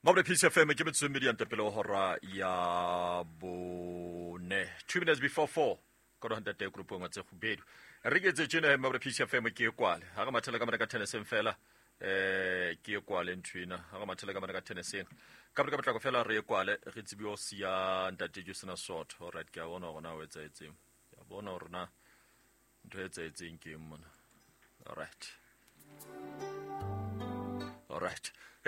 Mabole Peace FM, ke metsotso e mmedi ante pele ho hora ya bone, 2 minutes before 4. Ka roha ntate grupong tse kgubedu re ke etse tjena. Mabole Peace FM, ke e kwale ha re mathela ka mona ka tenniseng fela. Ke e kwale ntho ena ha re mathela ka mona ka tenniseng ka ka potlako fela, re e kwale, re tsebe ho siya ntate Justina Soto. Alright, ke a bona hore na o etsahetseng, ke a bona hore na ntho e etsahetseng ke eng mona. Alright,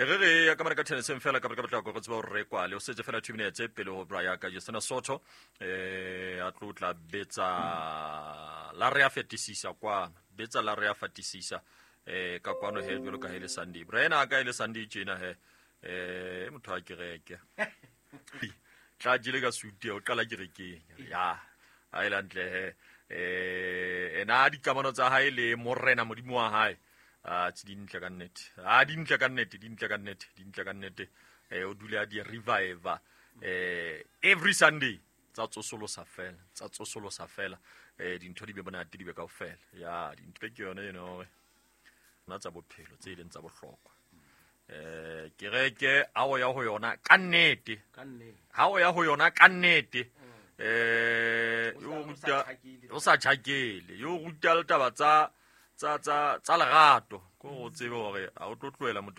e re re ya ka mona ka tenniseng fela ka potlako, re tsebe hore re kwale. O setse fela 2 minutes pele ho bra ya ka Justina Soto a tlo tla betsa la re a fetisisa kwano, betsa la re a fatisisa ka kwano he, jwalo ka he le Sunday bra ena ka e le Sunday tjena he. Motho a kereke tla jele ka suit, o qala kerekeng ya ha e lantle he. Ena dikamano tsa hae le morena modimo wa hae a tse dintle ka nnete, a dintle ka nnete, dintle ka nnete, dintle ka nnete. O dule a di revive every Sunday, tsa tsosolosa fela, tsa tsosolosa fela. Dintho di be monate, di be kaofela ya dintho ke yone eno hore nna tsa bophelo tse e leng tsa bohlokwa. Kereke ha o ya ho yona ka nnete, Ka nnete. Ha o ya ho yona ka nnete, yo O sa ruta tjhakele. O sa tjhakele, yo ruta le taba tsa lerato, ko o tsebe hore ha o tlo tlohela motho.